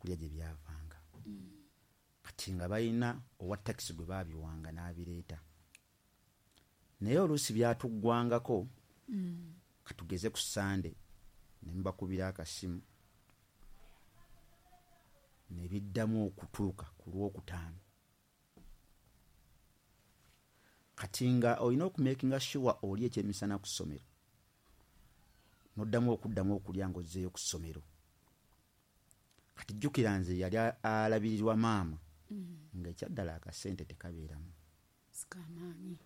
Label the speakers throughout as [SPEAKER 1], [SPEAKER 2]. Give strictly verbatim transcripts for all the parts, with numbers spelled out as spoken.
[SPEAKER 1] Ebyokulya gye byavanga. Kati nga balina owa takisi gwe baabiwanga n'abireeta, naye oluusi byatuggwangako. Katugeze ku Sande ne mbakubira akasimu ne biddamu okutuuka ku Lwokutaano. Kati nga olina okumakinga sure oli ekyemisana ku ssomero, n'oddamu okuddamu okulya ng'ozzeeyo ku ssomero. Kati jjukira nze yali alabirirwa maama, nga ekyaddala akasente tekabeeramu.
[SPEAKER 2] Sikamaanyi.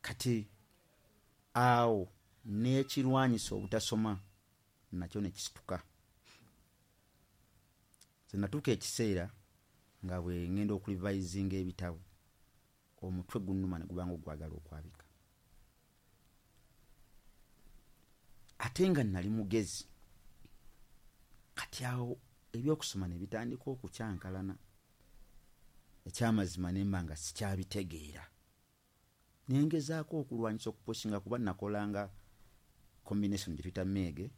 [SPEAKER 1] Kati awo n'ekirwanyisa obutasoma nakyo ne kisituka. Nze natuuka ekiseera nga bwe ŋŋenda okulivayizinga ebitabo, omutwe gunnuma ne gubanga ogwagala okwabika. Ate nga nali mugezi. Kati awo ebyokusoma ne bitandika okukyankalana. Ekyamazima ne mba nga sikyabitegeera. Ne ngezaako okulwanyisa okupusinga, kuba nakolanga combination gye tuyita meege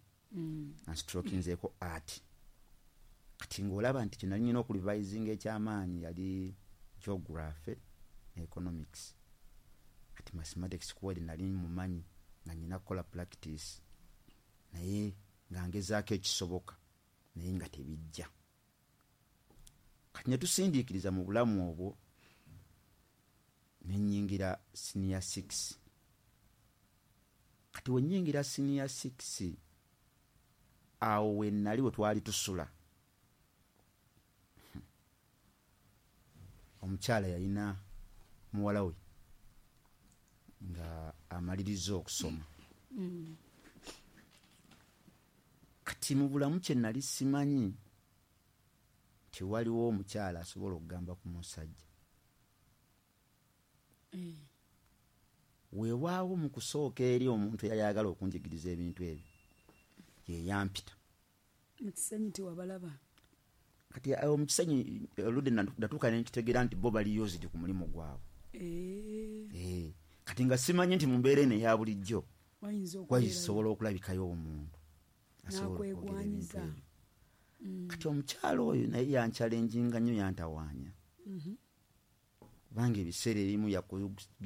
[SPEAKER 1] nga strokinzeeko art. Kati ng'olaba nti kye nali nnina okulivayizinga ekyamaanyi yali geography ne economics. Kati mathematics kuweri nali mumanyi nga nnina kukola practice, naye nga ngezaako ekisoboka naye nga tebijja. Kati ne tusindiikiriza mu bulamu obwo ne nnyingira senior six. Kati we nnyingira senior six, awo we nali we twali tusula, omukyala yalina muwala we nga amaliriza okusoma. Kati mu bulamu kye nali simanyi nti waliwo omukyala asobola okugamba ku musajja. Weewaawo mu kusooka eri omuntu eyali ayagala okunjigiriza ebintu ebyo ye yampita.
[SPEAKER 2] Mu Kisenyi tewabalaba?
[SPEAKER 1] Kati awo mu Kisenyi oludde natuuka ne nkitegeera nti bo bali used ku mulimu gwabwe. Eh. Kati nga simanyi nti mu mbeera eno eya bulijjo wayisobola okulabikayo omuntu asobola okwogera ebintu ebyo. Kati omukyala oyo naye yankyalenjinga nnyo, yantawaanya. Kubanga ebiseera ebimu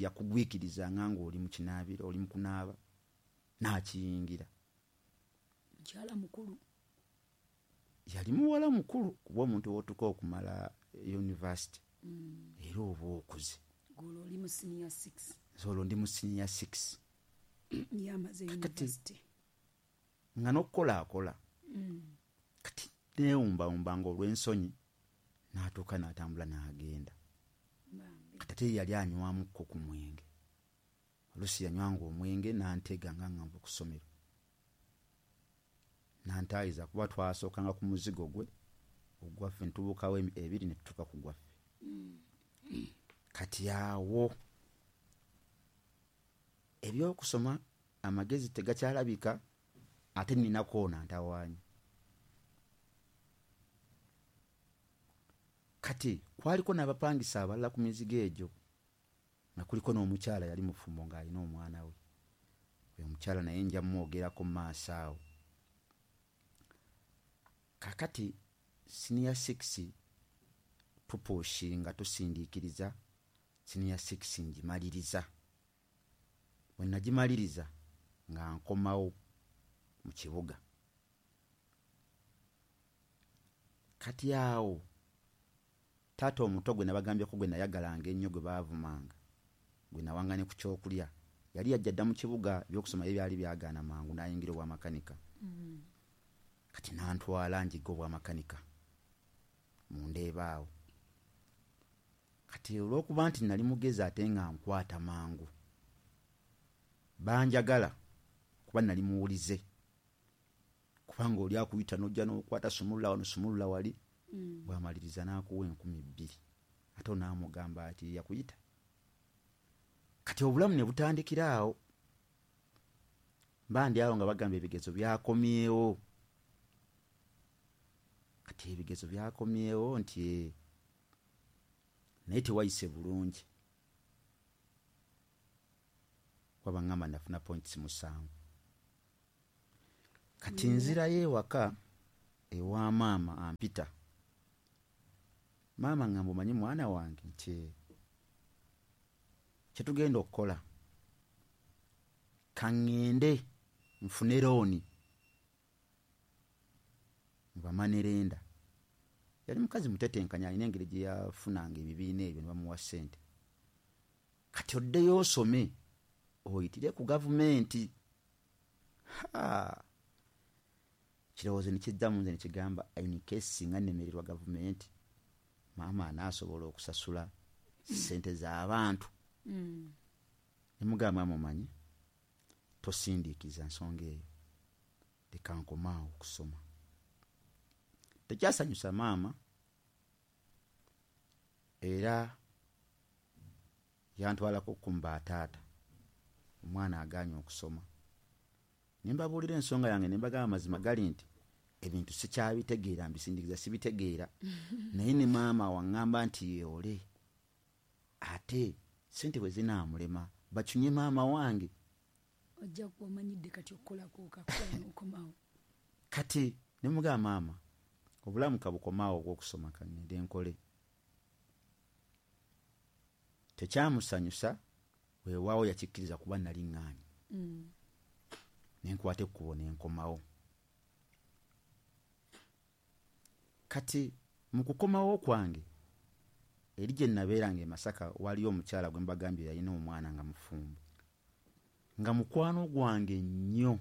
[SPEAKER 1] yakugwikirizanga ng'oli mu kinaabiro, oli mu kunaaba, n'akiyingira.
[SPEAKER 2] Mukyala mukulu?
[SPEAKER 1] Yali muwala mukulu, kuba omuntu w'otuuka okumala university era oba okuze.
[SPEAKER 2] Olwo oli mu senior six?
[SPEAKER 1] Olwo ndi mu senior six.
[SPEAKER 2] Yamaze university.
[SPEAKER 1] Nga n'okukola akola. Kati neewumbawumbanga olw'ensonyi n'atuuka n'atambula n'agenda. Kati ate yali anywamukko ku mwenge. Oluusi yanywanga omwenge n'antega nga ngamba ku ssomero. N'antaayiza kuba twasookanga ku muzigo gwe ogwaffe ne tubuukawo ebiri ne tutuuka ku gwaffe. Kati awo ebyokusoma amagezi tegakyalabika, ate nninako ono antawaanya. Kati kwaliko n'abapangisa abalala ku mizigo egyo, nga kuliko n'omukyala yali mufumbo ng'alina omwana we. Oyo omukyala naye nja mmwogerako mu maaso awo. Kaakati senior six tupushinga tusindiikiriza, senior six ngimaliriza. Bwe nagimaliriza nga nkomawo mu kibuga. Kati awo taata omuto gwe nabagambyeko gwe nayagalanga ennyo gwe baavumanga, gwe nawanga ne ku kyokulya, yali yajja dda mu kibuga, ebyokusoma ye byali byagaana mangu n'ayingira obwamakanika. Kati n'antwala njige obwamakanika mu Ndeeba awo. Kati olw'okuba nti nali mugezi ate nga nkwata mangu, banjagala kuba nali muwulize, kubanga oli akuyita n'ojja n'okwata sumulula wano sumulula wali, bw'amaliriza n'akuwa enkumi bbiri ate onaamugamba ati yakuyita. Kati obulamu ne butandikira awo. Mba ndi awo nga bagamba ebigezo byakomyewo. Kati ebigezo byakomyewo nti naye tewayise bulungi, kuba baŋŋamba nafuna points musanvu. Kati nzirayo ewaka ewa maama ampita. Maama ngamba omanyi mwana wange nti kyetugenda okukola, kaŋŋende nfune looni bamanirenda. Yali mukazi mutetenkanya, alina engeri gye yafunanga ebibiina ebyo ne bamuwa ssente. Kati oddeyo osome oyitire ku gavumenti. Ha, kirowoozo ne kiddamu nze ne kigamba in case singa nnemererwa gavumenti, maama anaasobola okusasula ssente z'abantu.
[SPEAKER 2] Mm.
[SPEAKER 1] Ne mugamba mumanyi tosindiikiriza nsonga eyo, leka nkomaawo okusoma. Tekyasanyusa maama, era yantwalako kumba taata, omwana agaanye okusoma. Ne mbabuulira ensonga yange ne mbagamba amazima gali nti ebintu sikyabitegeera, mbisindiikiriza sibitegeera. Naye ne maama waŋŋamba nti yeewole, ate ssente bwe zinaamulema bacunye maama wange.
[SPEAKER 2] Ojja kuba omanyidde kati okukolako okakola n'okomawo.
[SPEAKER 1] Kati ne mugamba maama obulamu kabukomaawo ogw'okusoma, kaŋŋende nkole. Tekyamusanyusa, weewaawo yakikkiriza kuba nali ŋŋaanyi.
[SPEAKER 2] Mm.
[SPEAKER 1] Ne nkwata ekkubo ne nkomawo. Kati mu kukomawo kwange eri gye nabeeranga e Masaka waliyo omukyala gwe mbagambye yalina omwana nga mufumbo, nga mukwano gwange nnyo,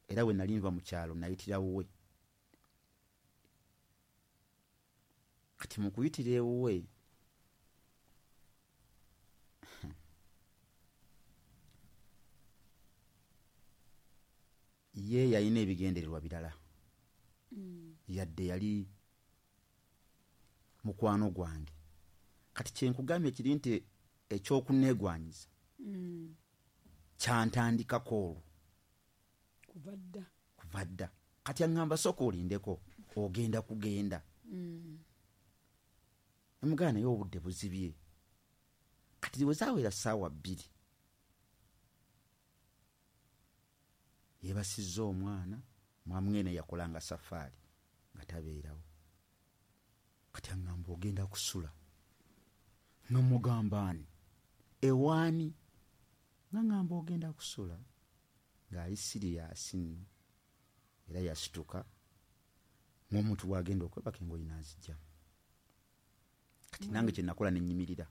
[SPEAKER 1] era bwe nali nva mu kyalo nayitira wuwe. Kati mu kuyitira ewuwe ye yalina ebigendererwa birala.
[SPEAKER 2] Mm.
[SPEAKER 1] Yadde yali mukwano gwange. Kati kye nkugambye kiri nti ekyokunneegwanyiza
[SPEAKER 2] Mm.
[SPEAKER 1] kyantandikako olwo
[SPEAKER 2] Kuva dda.
[SPEAKER 1] Kuva dda. Kati aŋŋamba sooka olindeko, ogenda kugenda.
[SPEAKER 2] Mm.
[SPEAKER 1] Ne mugamba naye obudde buzibye. Kati bwe zaawera ssaawa bbiri, yeebasizza omwana, mwamwene yakolanga safaari nga tabeerawo. Kati aŋŋamba ogenda kusula. Nga mugamba ani? Ewaani? Nga ŋŋamba ogenda kusula. Ng'ali siriyaasi nno. Era yasituka ng'omuntu bw'agenda okwebaka engoye n'aziggyamu. Kati nange kye nakola ne nnyimirira,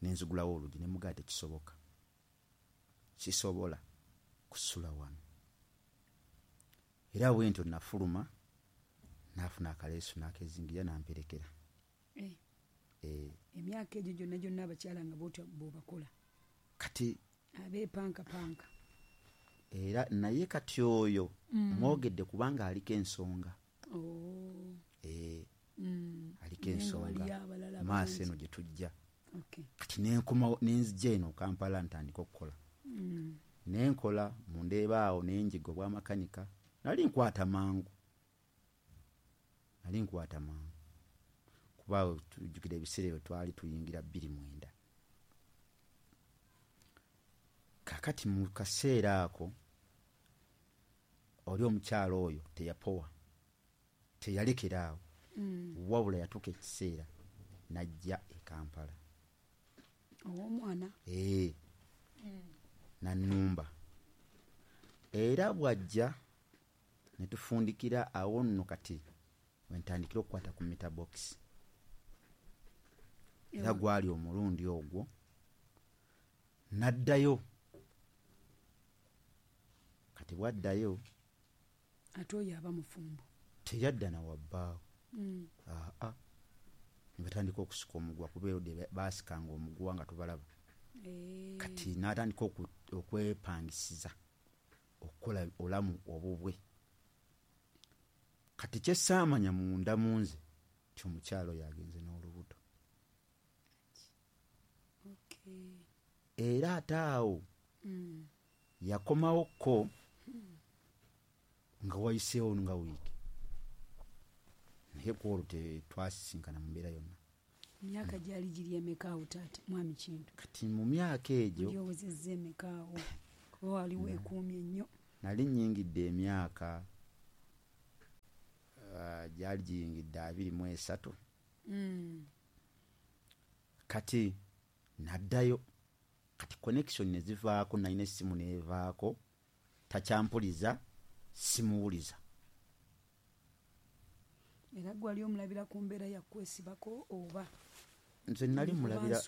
[SPEAKER 1] ne nzigulawo oluggi ne mugamba tekisoboka, sisobola kusula wano. Era bwe ntyo nafuluma, n'afuna akaleesu n'akezingira n'amperekera.
[SPEAKER 2] Eh.
[SPEAKER 1] Eh.
[SPEAKER 2] Emyaka egyo gyonna gyonna abakyala nga bw'otyo bw'obakola.
[SPEAKER 1] Kati
[SPEAKER 2] abeepankapanka.
[SPEAKER 1] Era naye kati oyo
[SPEAKER 2] Mm.
[SPEAKER 1] mwogedde kubanga aliko ensonga.
[SPEAKER 2] Oh.
[SPEAKER 1] Eh.
[SPEAKER 2] Mm.
[SPEAKER 1] Aliko
[SPEAKER 2] Naye nga
[SPEAKER 1] ensonga.
[SPEAKER 2] waliyo abalala
[SPEAKER 1] Maaso
[SPEAKER 2] bangi.
[SPEAKER 1] eno gye tujja.
[SPEAKER 2] Okay.
[SPEAKER 1] Kati ne nkomawo, ne nzija eno Kampala ntandika okukola.
[SPEAKER 2] Mm.
[SPEAKER 1] Ne nkola mu ndeeba awo ne njiga obwamakanika. Nali nkwata mangu. Nali nkwata mangu. Kuba tujjukira ebiseera ebyo twali tuyingira bbiri mwenda. Kaakati mu kaseera ako oli omukyala oyo teyapowa, teyalekera awo.
[SPEAKER 2] Mm.
[SPEAKER 1] Wabula yatuuka ekiseera n'ajja e Kampala.
[SPEAKER 2] Ow'omwana?
[SPEAKER 1] Eh.
[SPEAKER 2] Mm.
[SPEAKER 1] N'annumba. Era bw'ajja ne tufundikira awo nno kati we ntandikira okukwata ku meter box. Era
[SPEAKER 2] Ewa.
[SPEAKER 1] gwali omulundi ogwo n'addayo. Kati bw'addayo
[SPEAKER 2] ate oyo aba mufumbo.
[SPEAKER 1] Teyadda na wa bbaawe.
[SPEAKER 2] Mm.
[SPEAKER 1] Aa. Ne batandika okusika omuguwa kuba erudde baasikanga omuguwa nga tubalaba.
[SPEAKER 2] Eh.
[SPEAKER 1] Kati n'atandika oku-, okwepangisiza okukola obulamu obubwe. Kati kye ssaamanya munda mu nze nti omukyala oyo agenze n'olubuto.
[SPEAKER 2] Okay.
[SPEAKER 1] Era ate awo
[SPEAKER 2] Mm.
[SPEAKER 1] yakomawo ko nga wayiseewo nga wiiki. Naye ku olwo tetwasisinkana mu mbeera yonna.
[SPEAKER 2] Emyaka gyali giri emeka awo taata mwami Kintu?
[SPEAKER 1] Kati mu myaka egyo
[SPEAKER 2] Oli owezezza emeka awo? Kuba wali weekuumye nnyo.
[SPEAKER 1] Nali nnyingidde emyaka Gyali giyingidde abiri mu esatu. Mm. Kati naddayo, kati connection ne zivaako, nalina essimu neevaako, takyampuliza, simuwuliza.
[SPEAKER 2] Era gwali omulabira ku mbeera yakwesibako oba?
[SPEAKER 1] Nze nali mulabira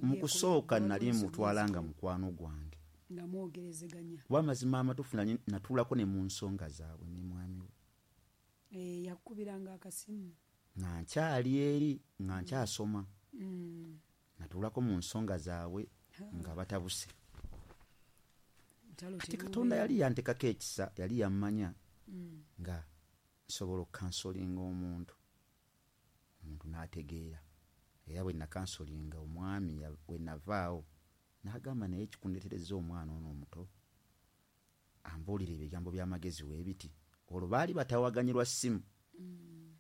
[SPEAKER 1] mu kusooka, nali mutwala nga mukwano gwange,
[SPEAKER 2] nga mwogerezeganya.
[SPEAKER 1] Kuba amazima amatuufu natuulako ne mu nsonga zaabwe ne mwami we.
[SPEAKER 2] Eh, yakukubiranga akasimu?
[SPEAKER 1] Nga nkyali eri, nga nkyasoma. Mm. Natuulako mu nsonga zaabwe nga batabuse. Kati Katonda yali yantekako ekisa, yali yammanya mm. nga nsobola okukansolinga omuntu, omuntu n'ategeera. Era bwe nakansolinga omwami, bwe navaawo n'agamba, naye ekikundeeterezza omwana ono omuto ambuulira ebigambo by'amagezi weebiti. Olwo baali batawaganyirwa ssimu. Mm.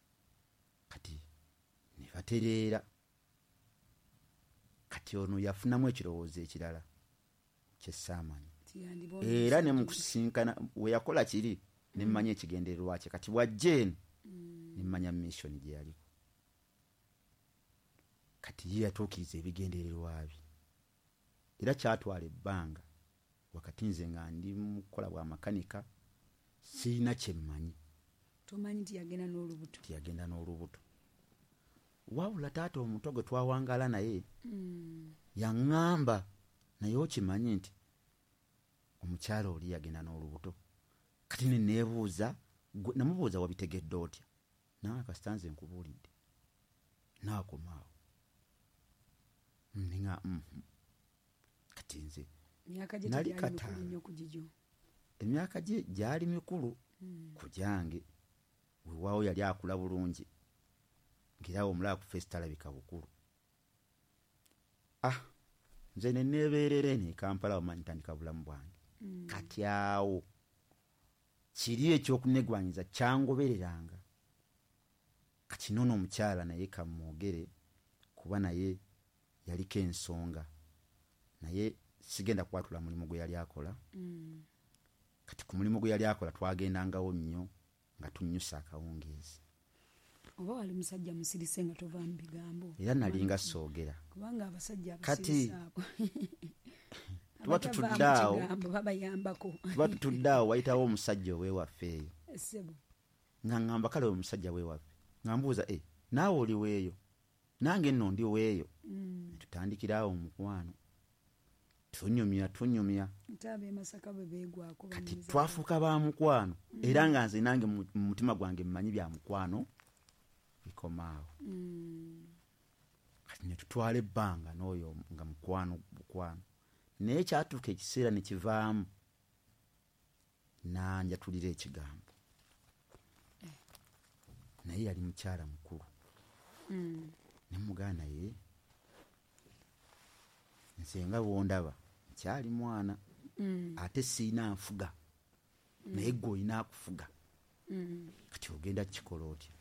[SPEAKER 1] Kati ne batereera. Kati ono yafunamu ekirowoozo ekirala kyesaamanyi, era ne mu kusisinkana we yakola kiri ne mmanya ekigendererwa kye. Kati bw'ajja eno ne mmanya mission gye yaliko. Kati ye yatuukiriza ebigendererwa bye, era kyatwala ebbanga. Wakati nze nga ndi mu kukola bwa makanika, sirina kye mmanyi.
[SPEAKER 2] Tomanyi nti yagenda n'olubuto?
[SPEAKER 1] Nti yagenda n'olubuto. Wabula taata omuto gwe twawangaala naye mm. yaŋŋamba, naye okimanyi nti omukyala oli yagenda n'olubuto? Kati ne neebuuza, namubuuza, wabitegedde otya? Nawe kasita nze nkubuulidde, naakomaawo ninga mm kati nze
[SPEAKER 2] nali kataano,
[SPEAKER 1] emyaka gye gyali mikulu mm. ku gyange. Weewaawo yali akula bulungi, ng'era omulaba ku face talabika bukulu. Ah, nze ne neebeerera eno e Kampala, omanyi ntandika bulamu bwange. Mm. Kati awo kiri ekyokunegwanyiza kyangobereranga. Kati noono omukyala naye kamwogere, kuba naye yaliko ensonga, naye sigenda kwatula mulimu gwe yali akola. Mm. Kati ku mulimu gwe yali akola twagendangawo nnyo nga tunnyusa akawungeezi.
[SPEAKER 2] Oba wali musajja musirise nga tova mu bigambo?
[SPEAKER 1] Era nalinga soogera,
[SPEAKER 2] kubanga abasajja abasirise abo
[SPEAKER 1] tuba tutudde awo,
[SPEAKER 2] babayambako.
[SPEAKER 1] Tuba tutudde awo, wayitawo omusajja ow'ewaffe eyo,
[SPEAKER 2] ssebo,
[SPEAKER 1] nga ŋŋamba, kale omusajja w'ewaffe, nga mbuuza, e naawe oli weeyo? Nange nno ndi weeyo. Mm. Tutandikira awo omukwano, tunyumya tunyumya. Kati twafuuka ba mukwano. Mm. Era nga nze nange mu mutima gwange mmanyi bya mukwano bikomaawo. Mm. Kati ne tutwala ebbanga n'oyo nga mukwano bukwano, naye kyatuuka ekiseera ne kivaamu, nanjatulira ekigambo.
[SPEAKER 2] Eh.
[SPEAKER 1] Naye yali mukyala mukulu.
[SPEAKER 2] Mm.
[SPEAKER 1] Ne mugamba, naye nze nga bw'ondaba nkyali mwana,
[SPEAKER 2] Mm.
[SPEAKER 1] ate siina nfuga, naye gwe olina akufuga.
[SPEAKER 2] Mm.
[SPEAKER 1] Kati ogenda kukikola otya?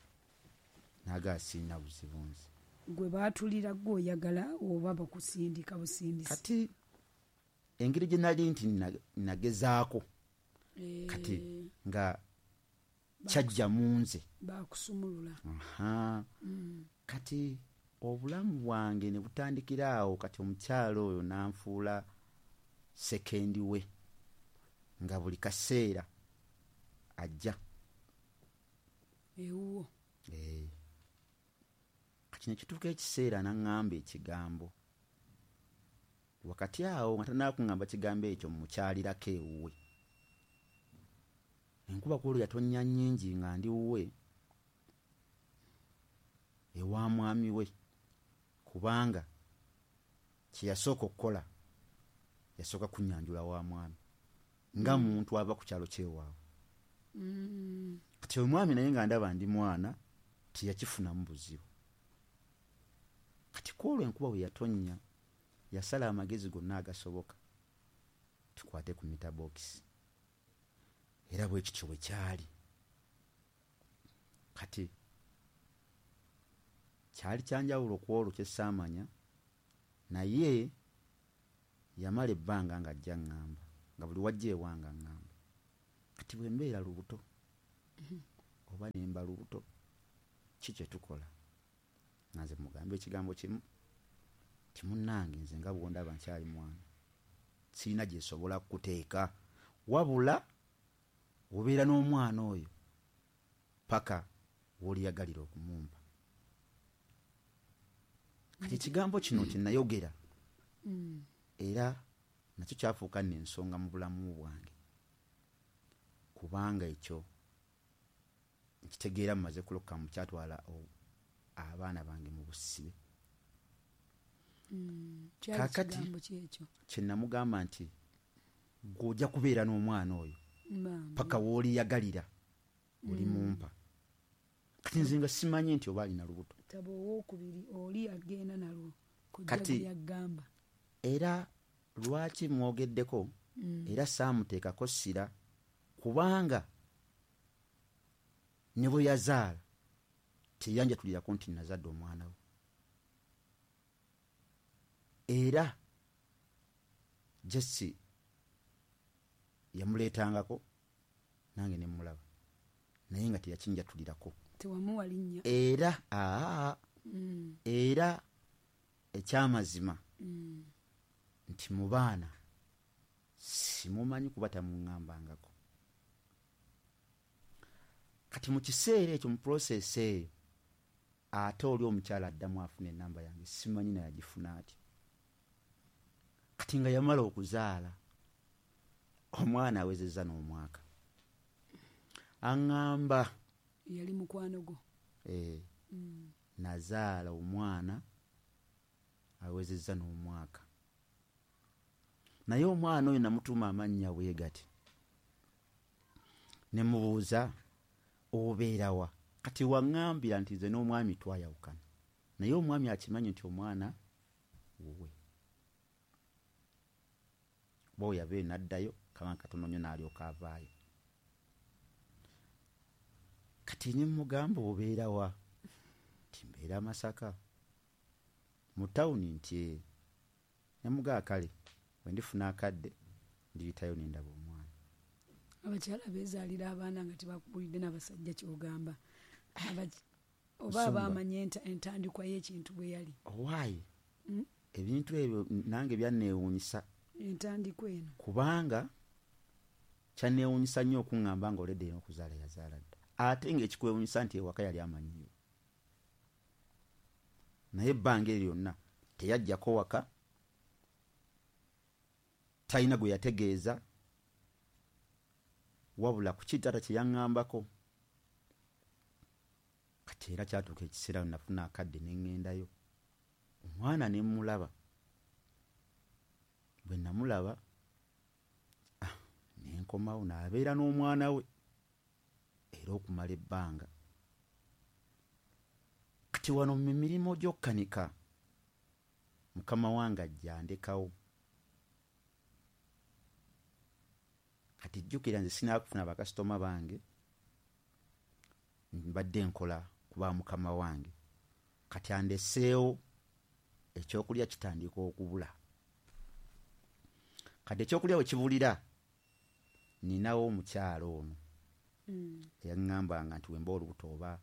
[SPEAKER 1] N'agamba, siina buzibu nze.
[SPEAKER 2] Gwe baatulira gwe oyagala oba bakusindika busindisi?
[SPEAKER 1] Kati engeri gye nali nti nagezaako,
[SPEAKER 2] eh.
[SPEAKER 1] kati nga kyajja mu nze,
[SPEAKER 2] bakusumulula.
[SPEAKER 1] Aha.
[SPEAKER 2] Mm.
[SPEAKER 1] Kati obulamu bwange ne butandikira awo. Kati omukyala oyo n'anfuula second we, nga buli kaseera ajja
[SPEAKER 2] ewuwo.
[SPEAKER 1] Eh. Kati ne kituuka ekiseera n'aŋŋamba ekigambo. Wakati awo nga tannaba kigambo ekyo, mukyalirako ewuwe. Enkuba ku olwo yatonnya nnyingi nga ndi wuwe ewa mwami we, kubanga kye yasooka okukola, yasooka kunnyanjula wa mwami nga muntu ava ku kyalo kyewaabwe.
[SPEAKER 2] Mm.
[SPEAKER 1] Kati omwami naye nga ndaba ndi mwana, teyakifunamu buzibu. Kati ku olwo enkuba bwe yatonnya, yasala amagezi gonna agasoboka tukwate ku meter box, era bwe kityo bwe kyali. Kati kyali kyanjawulo ku olwo kye ssaamanya, naye yamala ebbanga ng'ajja ŋŋamba, nga buli wajja ewange aŋŋamba, kati bwe mbeera lubuto oba ne mba lubuto. Ki kyetukola? Nga nze mugambe ekigambo kimu, timunnange nze nga bwondaba nkyali mwana, sirina gyesobola kukuteeka, wabula obeera n'omwana oyo paka w'oliyagalira okumumpa. Kati ekigambo kino kye nayogera
[SPEAKER 2] Mm.
[SPEAKER 1] era nakyo kyafuuka nno ensonga mu bulamu bwange, kubanga ekyo nkitegeera mumaze kulokoka mu kyatwala o-, abaana bange mu busibe.
[SPEAKER 2] Mm. Kyali
[SPEAKER 1] Kaakati
[SPEAKER 2] kigambo ki ekyo?
[SPEAKER 1] kye namugamba nti gw'ojja kubeera n'omwana oyo
[SPEAKER 2] Bambi.
[SPEAKER 1] paka w'oliyagalira oli
[SPEAKER 2] Mm.
[SPEAKER 1] mumpa. Kati nze nga simanyi nti oba alina lubuto.
[SPEAKER 2] Taba owookubiri oli agenda nalwo kojja
[SPEAKER 1] Kati
[SPEAKER 2] bwe yagamba.
[SPEAKER 1] Era lwaki mwogeddeko
[SPEAKER 2] Mm.
[SPEAKER 1] era saamuteekako ssira, kubanga ne bwe yazaala teyanjatulirako nti nazadde omwana we. Era Jesse yamuleetangako nange ne mmulaba, naye nga teyakinjatulirako.
[SPEAKER 2] Tewamuwa linnya.
[SPEAKER 1] Era, aa,
[SPEAKER 2] Mm.
[SPEAKER 1] era ekyamazima
[SPEAKER 2] Mm.
[SPEAKER 1] nti mu baana simumanyi kuba tamuŋŋambangako. Kati mu kiseera ekyo mu process eyo ate oli omukyala addamu afuna ennamba yange, simanyi naye agifuna atya. Kati nga yamala okuzaala omwana awezezza n'omwaka, aŋŋamba
[SPEAKER 2] yali mukwano gwo.
[SPEAKER 1] Eh,
[SPEAKER 2] Mm.
[SPEAKER 1] nazaala omwana awezezza n'omwaka, naye omwana oyo namutuuma amannya bwe gati, ne mubuuza obeera wa? Kati waŋŋambira nti nze n'omwami twayawukana, naye omwami akimanyi nti omwana wuwe. Bo yabeera n'addayo kabanga katono nnyo n'alyoka avaayo. Kati ne mugamba obeera wa? Nti mbeera Masaka mu tawuni. Nti ne mugamba kale bwe ndifuna akadde ndiyitayo ne ndaba omwana.
[SPEAKER 2] Abakyala beezaalira abaana nga tebakubuulidde n'abasajja ky'ogamba. Abaki-, oba
[SPEAKER 1] Nsumba.
[SPEAKER 2] abaamanya enta-, entandikwa y'ekintu bwe yali.
[SPEAKER 1] Owaaye.
[SPEAKER 2] Mm?
[SPEAKER 1] Ebintu ebyo nange byanneewuunyisa.
[SPEAKER 2] Entandikwa eno.
[SPEAKER 1] Kubanga kyanneewuunyisa nnyo okuŋŋamba ng'oledde eno okuzaala yazaala dda. Ate ng'ekikwewuunyisa nti ewaka yali amanyiyo. Naye ebbanga eryo lyonna teyajjako waka, talina gwe yategeeza, wabula ku ki taata kye yaŋŋambako. Kati era kyatuuka ekiseera we nafuna akadde ne ŋŋendayo. Omwana ne mmulaba. Bwe namulaba, ah, ne nkomawo n'abeera n'omwana we era okumala ebbanga. Kati wano mu mirimu gy'okkanika, mukama wange ajja andekawo. Kati jjukira nze sinakufuna bakasitoma bange, mbadde nkola kuba mukama wange. Kati andeseewo ekyokulya kitandika okubula. Kati ekyokulya we kibulira, ninawo omukyala ono
[SPEAKER 2] Mm.
[SPEAKER 1] eyaŋŋambanga nti wemba olubuto oba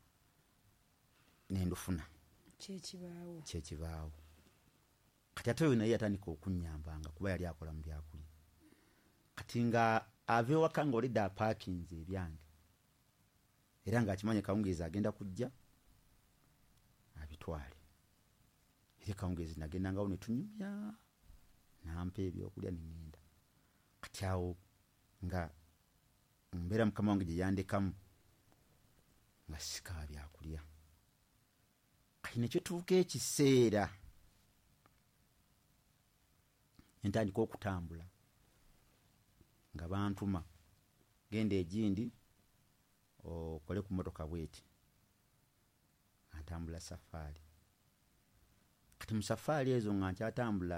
[SPEAKER 1] nendufuna.
[SPEAKER 2] Kyekibaawo.
[SPEAKER 1] Kyekibaawo. Kati ate oyo naye yatandika okunnyambanga kuba yali akola mu byakulya. Kati nga ava ewaka ng'olidde apaakinze ebyange, era ng'akimanye kawungeezi agenda kujja abitwale. Era kawungeezi nagendangawo ne tunyumya, n'ampa ebyokulya ne ŋŋenda. Kati awo nga mbeera mukama wange gye yandekamu nga sikaaba byakulya. Kati ne kituuka ekiseera ne ntandika okutambula nga bantuma genda egindi okole ku mmotoka bw'eti. Nga ntambula safaari. Kati mu safaari ezo nga nkyatambula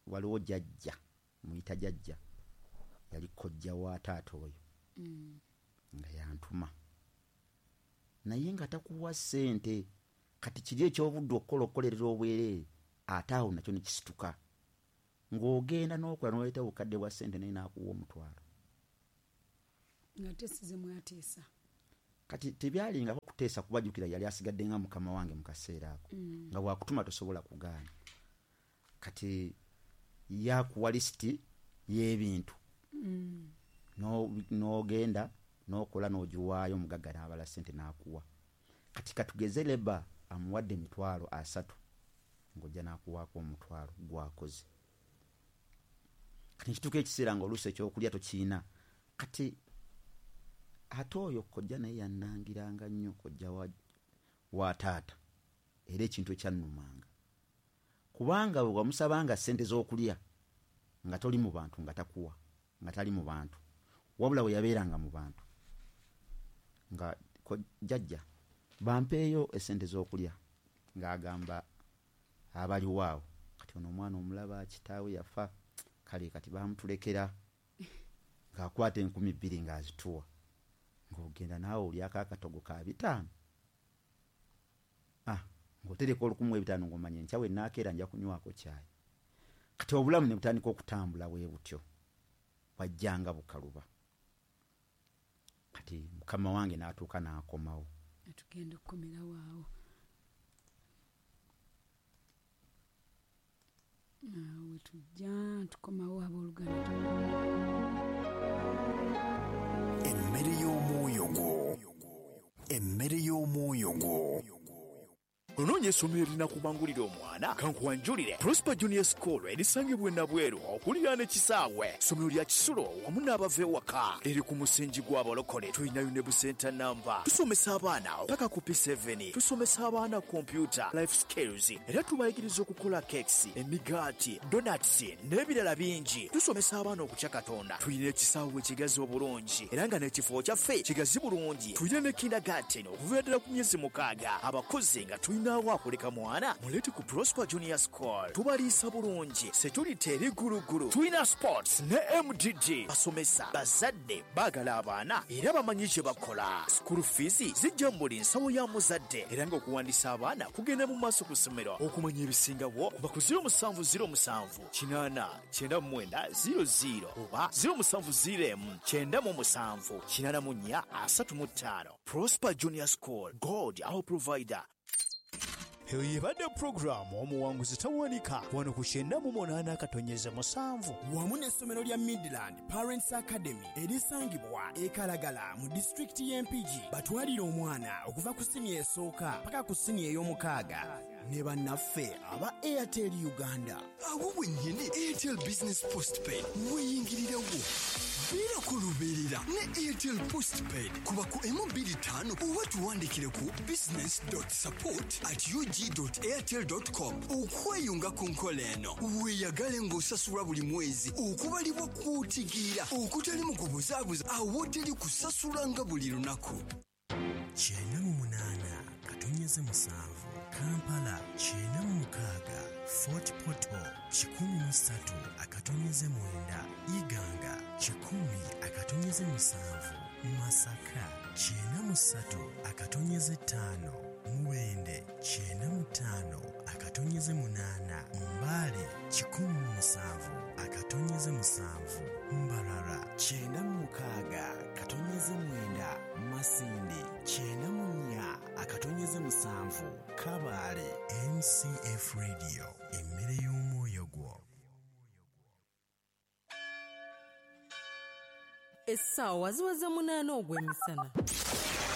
[SPEAKER 1] waliwo jjajja, muyita jjajja, yali kojja wa taata oyo.
[SPEAKER 2] Mm.
[SPEAKER 1] Nga yantuma. Naye nga takuwa ssente. Kati kiri eky'obudde okukola okukolerera obwereere, ate awo nakyo ne kisituka. Ng'ogenda n'okola n'oleeta obukadde bwa ssente naye n'akuwa omutwalo.
[SPEAKER 2] Nga tesize mwateesa.
[SPEAKER 1] Kati tebyalingako kuteesa kubajjukira yali asigadde nga mukama wange mu kaseera ako
[SPEAKER 2] Mm.
[SPEAKER 1] nga bwakutuma tosobola kugaana. Kati yakuwa lisiti y'ebintu
[SPEAKER 2] Mm.
[SPEAKER 1] n'ogenda n'okola n'ogiwaayo, omugagga n'abala ssente n'akuwa. Kati katugeze leba amuwadde emitwalo asatu, ng'ojja n'akuwaako omutwalo gwakoze. Kati nekituuka ekiseera ng'oluusi ekyokulya tokiina. Kati ate oyo kojja naye yannangiranga nnyo, kojja wa, wa taata, era ekintu ekyannumanga, kubanga bwe wamusabanga ssente z'okulya nga toli mu bantu, nga takuwa, nga tali mu bantu, wabula we yabeeranga mu bantu nga jjajja bampeeyo essente z'okulya, ng'agamba abaliwo awo, kati ono omwana omulaba kitaawe yafa, kale kati bamutulekera, ng'akwata enkumi bbiri ng'azituwa, ng'ogenda naawe olyako akatogo ka bitaano, ah, ng'otereka olukumu ebitaano ng'omanya enkya we nnaakeera nja kunywako caayi. Kati obulamu ne butandika okutambula bwe butyo, bwajjanga bukaluba. Kati mukama wange n'atuuka n'akomawo.
[SPEAKER 2] Tugenda okukomerawo awo. Awo tujja tukomawo abooluganda.
[SPEAKER 3] Emmere y'omwoyo gwo, emmere y'omwoyo gwo.
[SPEAKER 4] Onoonya essomero erinakubangulira omwana? Kankuwanjulire Prosper Junior School erisangibwa e Nabweru okuliraana ekisaawe. Ssomero lya kisulo wamu n'abava ewaka, liri ku musingi gw'abalokole. Tulinayo ne busenta namba. Tusomesa abaana paka ku P seven, tusomesa abaana kompyuta, life skills, era tubayigiriza okukola cakes, emigaati, donuts n'ebirala bingi. Tusomesa abaana okutya Katonda. Tulina ekisaawe ekigazi obulungi era nga n'ekifo kyaffe kigazi bulungi. Tulina ne kindergarten okuviira ddala ku myezi mukaaga. Abakozi nga tulina akuleka mwana, mulete ku Prosper Junior School. Tubaliisa bulungi, security eri gulugulu. Tulina sports ne M D D. Basomesa bazadde baagala abaana era bamanyi kye bakola. School fees zijja mu buli nsawo ya muzadde, era ng'okuwandiisa abaana kugenda mu maaso ku ssomero. Okumanya ebisingawo kuba ku zero musanvu zero musanvu kinaana kyenda mu mwenda zero zero oba zero musanvu zero emu kyenda mu musanvu kinaana mu nnya asatu mu ttaano. Prosper Junior School, God our provider.
[SPEAKER 5] Eyo yebadde pulogulaamu omuwanguzi tawanika wano ku kyenda mu munaana akatonyeze musanvu
[SPEAKER 6] wamu n'essomero lya Midland Parents Academy erisangibwa e Kalagala mu disitulikiti y'e Mpigi. Batwalire omwana okuva ku siniya esooka paka ku siniya ey'omukaaga ne bannaffe aba Airtel Uganda.
[SPEAKER 3] Awo wennyini Airtel Business Postpaid weyingirirawo. Beerako lubeerera ne Airtel Postpaid kuba ku emu bbiri ttaano oba tuwandikire ku business dot support at u g dot airtel dot com okweyunga ku nkola eno. Weeyagale ng'osasulwa buli mwezi okubalibwa kw'otegeera okutali mu kubuzaabuza awoteri kusasulanga buli lunaku.
[SPEAKER 6] Kyenda mu munaana katonyeze musanvu Kampala, kyenda mu mukaaga Fort Portal, kikumi mu ssatu akatonyeze mwenda Iganga, kikumi akatonyeze musanvu Masaka, kyenda mu ssatu akatonyeze ttaano Mubende, kyenda mu ttaano akatonyeze munaana Mbale, kikumi mu musanvu akatonyeze musanvu Mbarara, kyenda mu mukaaga katonyeze mwenda Masindi, kyenda mu nnya akatonyeze musanvu Kabale.
[SPEAKER 7] M C F Radio, emmere y'omwoyo gwo.
[SPEAKER 8] Essaawa ziweze munaana ogw'emisana.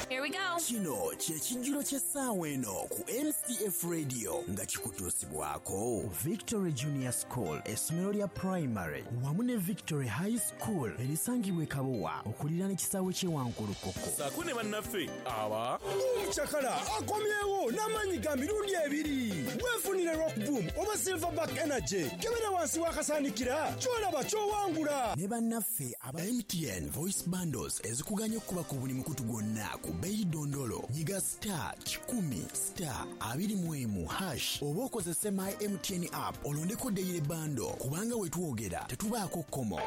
[SPEAKER 9] Here we go.
[SPEAKER 6] Kino kye kijjulo ky'essaawa eno ku M C F Radio nga kikutuusibwako Victory Junior School, essomero lya primary wamu ne Victory High School erisangibwa e Kabowa okuliraana ekisaawe ky'e Wankulukuku.
[SPEAKER 10] Saako ne bannaffe aba
[SPEAKER 11] Omucakala akomyewo n'amaanyi ga mirundi ebiri. Weefunire Rock Boom oba Silverback Energy. Kebera wansi w'akasaanikira ky'olaba ky'owangula.
[SPEAKER 6] Ne bannaffe aba M T N Voice Bundles ezikuganya okuba ku buli mukutu gwonna ku bei dondolo. Nyiga star kikumi star abiri mu emu hash oba okozese my M T N app olondeko daily bundle kubanga wetwogera tetubaako kkomo.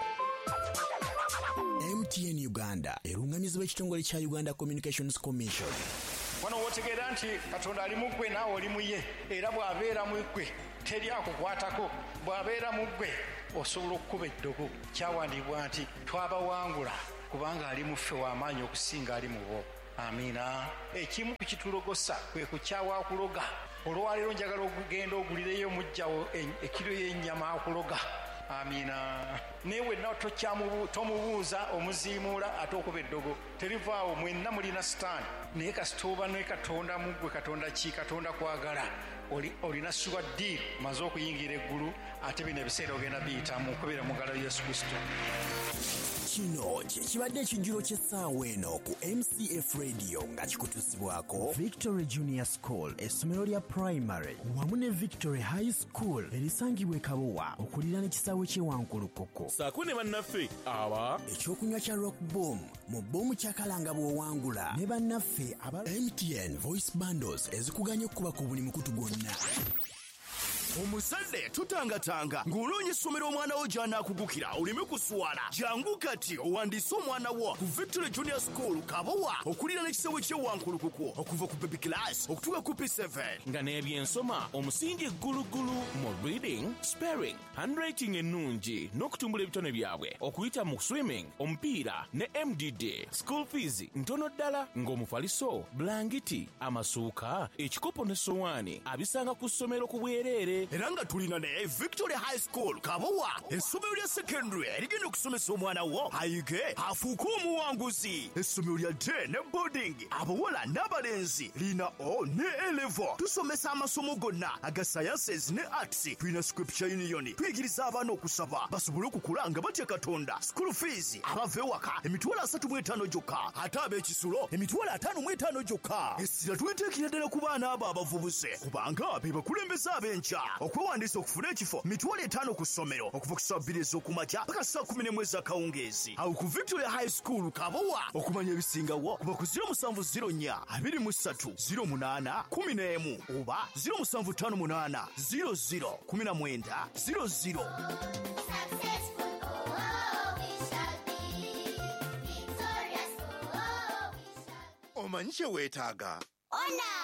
[SPEAKER 6] M T N Uganda erungamizibwa ekitongole kya Uganda Communications Commission.
[SPEAKER 12] Wano w'otegeera nti Katonda ali mu ggwe naawe oli mu ye, era bw'abeera mu ggwe teri akukwatako, bw'abeera mu ggwe osobola okukuba eddogo. Kyawandiibwa nti twabawangula kubanga ali mu ffe w'amaanyi okusinga ali mu bo. Amiina. Ekimu ku kitulogosa kwe kukyawa okuloga. Olwaleero njagala okugenda ogulireyo mujjawo ekiro y'ennyama akuloga. Amiina. Naye wenna tomubuuza omuziimuula ate okuba eddogo terivaawo, mwenna mulina sitaani. Naye kasita oba ne Katonda mu ggwe, Katonda ki? Katonda kwagala. Olina sure deal, maze okuyingira eggulu, ate bino ebiseera ogenda biyitamu okubeera mu ngalo Yesu Kristo.
[SPEAKER 6] Kino kye kibadde ekijjulo ky'essaawa eno ku M C F Radio nga kikutuusibwako Victory Junior School, essomero lya primary wamu ne Victory High School erisangibwa e Kabowa okuliraana ekisaawe ky'e Wankulukuku.
[SPEAKER 10] Ssaako ne bannaffe aba
[SPEAKER 6] ekyokunywa kya Rock Boom mu boomu kyakalanga bw'owangula ne bannaffe aba M T N Voice Bundles ezikuganya okukuba ku buli mukutu gwonna.
[SPEAKER 4] Omuzadde tutangatanga ng'olonye essomero omwana wo gy'anaakugukira oleme kuswala. Jangu kati owandiise omwana wo ku Victory Junior School Kabowa okuliraana ekisaawe ky'e Wankulukuku okuva ku baby class okutuuka ku P seven.
[SPEAKER 10] Nga n'ebyensoma omusingi ggulugulu mu reading, spelling, handwriting ennungi n'okutumbula ebitone byabwe okuyita mu swimming, omupiira ne M D D. School fees ntono ddala ng'omufaliso, bulangiti, amasuuka, ekikopo ne sowaani abisanga ku ssomero ku bwereere.
[SPEAKER 4] Era nga tulina ne Victory High School Kabowa, essomero lya secondary erigenda okusomesa omwana wo ayige afuuke omuwanguzi. Essomero lya day ne boarding, abawala n'abalenzi, lina O ne A level. Tusomesa amasomo gonna aga sciences ne arts. Tulina Scripture Union, tuyigiriza abaana okusaba basobole okukula nga batya Katonda. School fees abava ewaka emitwalo asatu mu etaano gyokka, ate ab'ekisulo emitwalo ataano mu etaano gyokka. Essira tuliteekera ddala ku baana abo abavubuse kubanga be bakulembeze ab'enkya. Okwewandiisa okufuna ekifo mitwalo etaano ku ssomero okuva ku ssaawa bbiri ez'okumakya paka ssaawa kumi n'emu ez'akawungeezi. Awo ku Victoria High School Kabowa. Okumanya ebisingawo kuba ku ziro musanvu ziro nnya abiri mu ssatu ziro munaana kumi n'emu oba ziro musanvu ttaano munaana ziro ziro kumi na mwenda ziro ziro.
[SPEAKER 13] Omanyi kye weetaaga?
[SPEAKER 14] Ona!